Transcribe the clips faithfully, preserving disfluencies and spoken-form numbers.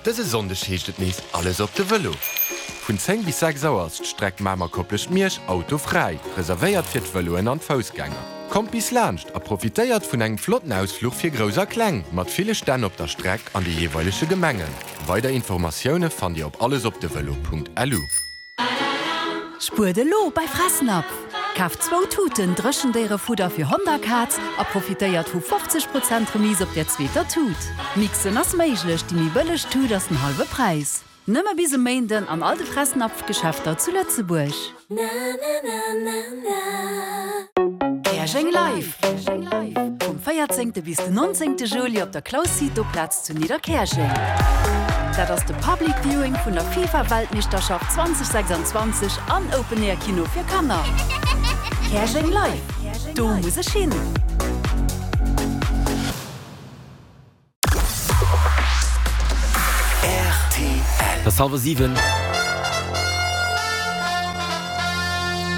Dëse Sonndeg heescht et nees alles op de Vëlo. Vun zéng bis sechs Auer ass d'Streck Mamer-Koplescht-Miersch autofräi, reservéiert fir d'Vëloen an d'Foussgänger. Kommt bis laanscht a profitéiert vun engem flotten Ausfluch fir Grouss a Kleng, mat ville Stänn op der Streck an de jeeweilege Gemengen. Weider Informatioune fannt Dir op allesopdevelo Punkt lu. Spuert elo bei Fressnapf! Kaaft zwou Tuten Dréchendéierefudder fir Hond a Kaz a profitéiert vu fofzeg Prozent Remise op der zweeter Tut. Mixen ass méiglech, déi méi bëlleg Tut ass den hallwe Präis. Nëmme bis e Méinden an all de Fressnapf-Geschäfter zu Lëtzebuerg. Käerjeng Live! Vum véierzéngte bis den nonzéngte Juli op der Claus Cito Plaz zu Nidderkäerjeng. Dat ass de Public Viewing vun der FIFA-Weltmeeschterschaft zweitausendsechsundzwanzeg an Open Air Kino fir Kanner. Käerjeng Live! Do muss ech hin! Et ass hallwer siwen.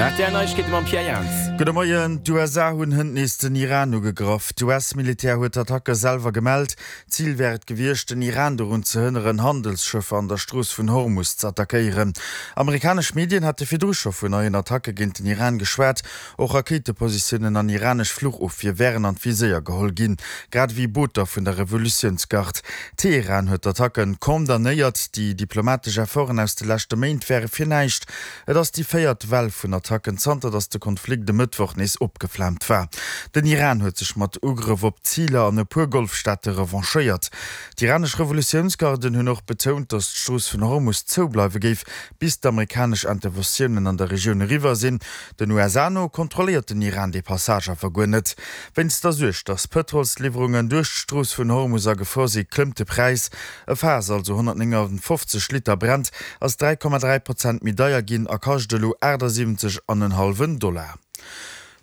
Rtl Neiegkeete mam Pierre Jans. Gudde Moien. D'U S A hunn hënt nees den Iran ugegraff. D'U S-Militär huet d'Attacke selwer gemellt. Zil wär et gewiescht, den Iran dorun ze hënneren, Handelsschëffer an der Strooss vun Hormus ze attackéieren. Amerikanesch Medien hate virdru scho vun neien Attacke géint den Iran geschwat. Och Rakéitepositiounen an iranesch Fluchofwier wären an d'Viséier geholl ginn, grad ewéi Booter vun der Revolutiounsgard. Teheran huet d'Attacken condamnéiert. Déi diplomatesch Efforten aus de leschte Méint wäre fir näischt. Et ass déi véiert Well vun Attacken, zanter datt de Konflikt e Mëttwoch nees opgeflaamt war. Den Iran huet sech mat Ugrëff op Ziler an e puer Golfstaate revanchéiert. D'iranesch Revolutiounsgarden hunn och betount, datt d'Strooss vun Hormus zoubleiwe géif, bis d'amerikanesch Interventiounen an der Regioun eriwwer sinn. Den U S A no kontrolléiert den Iran dee Passage awer guer net. Wéinst der Suerg, datt Pëtrolsliwwerungen duerch d'Strooss vun Hormus a Gefor si, klëmmt de Präis. E Faass, also honnertnénganfofzeg Liter Brent, ass dräi Komma dräi Prozent méi deier ginn a kascht elo aachtsiwwenzeg an en hallwen Dollar.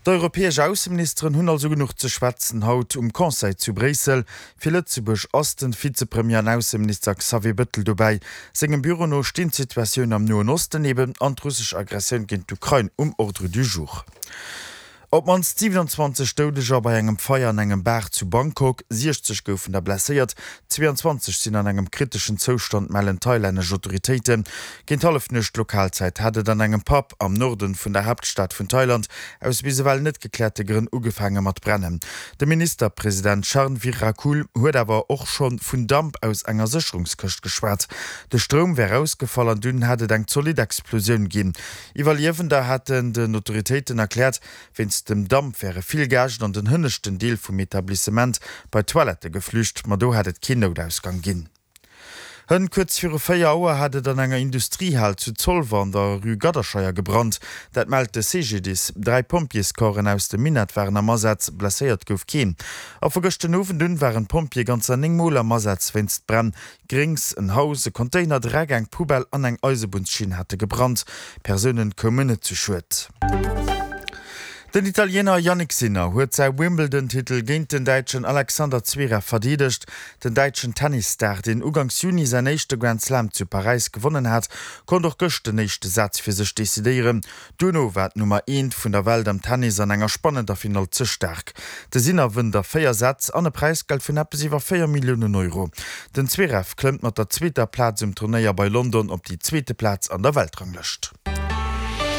D'europäesch Ausseministeren hunn also genuch ze schwätzen haut um Conseil zu Bréissel. Fir Lëtzebuerg ass den Vizepremier an Ausseminister Xavier Bettel dobäi. Sengem Büro no stinn d'Situatioun am Noen Osten eben an d'russesch Aggressioun géint d'Ukrain um Ordre du jour. Op d'mannst siewenundzwanzeg Doudeger bei engem Feier an engem Bar zu Bangkok, siechzeg goufen der blesséiert, zweeanzwanzeg sinn an engem kriteschen Zoustand, mellen thailännesch Autoritéiten. Géint Hallefnuecht Lokalzäit hat et an engem Pub am Norden vun der Haaptstad vun Thailand aus bis ewell net gekläerte Grënn ugefaange mat brennen. De Ministerpresident Charnvirakul huet awer och scho vun Damp aus enger Sécherungskëscht geschwat. De Stroum wär ausgefall an dunn hätt et eng zolidd Explosioun ginn. Iwwerliewender haten den Autoritéiten erkläert, wéinst dem Damp wäre vill Gäscht an den hënneschten Deel vum Etablissement bei d'Toilette geflücht, ma do hätt et keen Noutausgang ginn. Hënt kuerz viru véier Auer hat et an enger Industriehal zu Zolwer an der Rue Gadderscheier gebrannt. Dat mellt de C G D I S. Dräi Pompjeescorpsen aus dem Minett waren am Asaz, blesséiert gouf keen. A vu gëschter Owend un waren d'Pompjeeë ganzer néng Mol am Asaz wéinst Bränn. Gréngs, en Haus, e Container, Dreck, eng Poubelle an eng Eisebunnschinn hate gebrannt. Persoune koumen net zu Schued. Den Italiener Jannik Sinner huet säi Wimbledon-Titel géint den Däitschen Alexander Zverev verdeedegt. Den däitschen Tennisstar, deen uganks Juni säin éischte Grand Slam zu Paräis gewonnen hat, konnt och gëscht den éischte Saz fir sech decidéieren. Duerno war d'Nummer eent vun der Welt am Tennis an enger spannender Finall ze staark. De Sinner wënnt a véier Sätz an e Präisgeld vun eppes iwwer véier Milliounen Euro. Den Zverev klëmmt mat der zweeter Plaz um Turnéier bei London op déi zweete Plaz an der Weltranglëscht.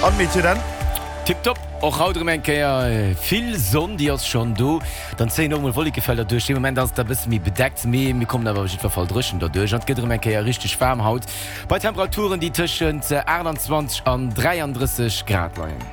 An d'Meteo dann? Tiptop, och haut erëm eng Kéier vill Sonn, déi ass schonn do. Dann zéien och mol Wollekefelder duerch. De Moment ass et e bësse méi bedeckt, mee mir kommen awer op jiddwer Fall dréchen derduerch. An et gëtt erëm eng Kéier richteg waarm haut, bei Temperaturen, déi tëschent aachtanzwanzeg an dräiandrësseg Grad leien.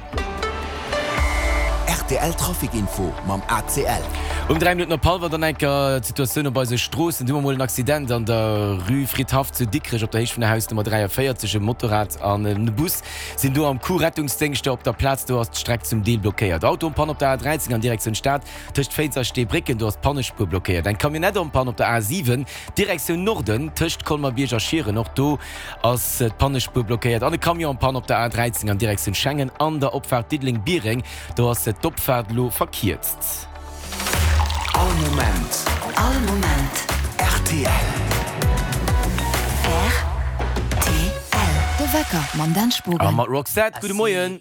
R T L Trafic Info mam A C L. Um dräi Minutten op hallwer dann eng Kéier d'Situatioun op eise Stroossen. Du hu mer mol en Accident an der Rue Fridhaff zu Dikrech op der Héicht vun der Hausnummer dräiavéierzeg. E Motorrad an e Bus sinn do am Coup. Rettungsdéngschter op der Plaz, do ass d'Streck zum Deel blockéiert. Auto en panne op der A dräizéng an Direktioun Stad tëscht Féiz a Steebrécken, do ass d'Pannespuer blockéiert. Eng Camionnette en panne op der A siwen Direktioun Norden tëscht Colmer-Bierg a Schieren, och do ass d'Pannespuer blockéiert. An e Camion en panne op der A dräizéng an Direktioun Schengen an der Opfaart Diddeleng-Biereng, do ass d'Opfaart lo verkierzt. All Moment. All Moment. R T L. R T L. De Wecker mam Dan Spogen. A mat Roxette. Gudde Moien.